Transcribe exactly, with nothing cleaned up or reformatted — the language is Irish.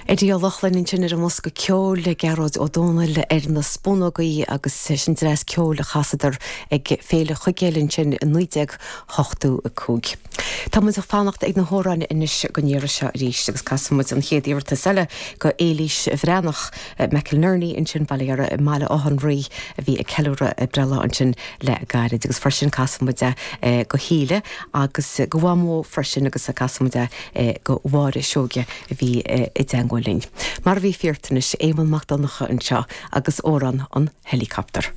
Eddie Ó Lochlainn ansin ar an mbosca ceoil le Gearóid Ó Dónaill ar na spúnógaí agus sin dreas ceoil a chasadar ag Féile Chuigéil ansin i naoi déag ochtó a cúig. Tá muid ag fanacht ag na hamhráin anois don iarraidh seo arís agus casfaidh muid an chéad iarratas eile go Éilís Bhreathnach McInerney ansin Baile Dheara i mBaile Átha an Rí a bhí ag ceiliúradh a breithlá ansin le gairid agus freisin casfaidh muid é go hÍle agus go Mhamó freisin agus casfaidh muid é go Mháire Seoige a bhí i dteagmháil linn. Mar a bhí fíortanis Éamonn Mac Donncha anseo agus amhrán an helicopter.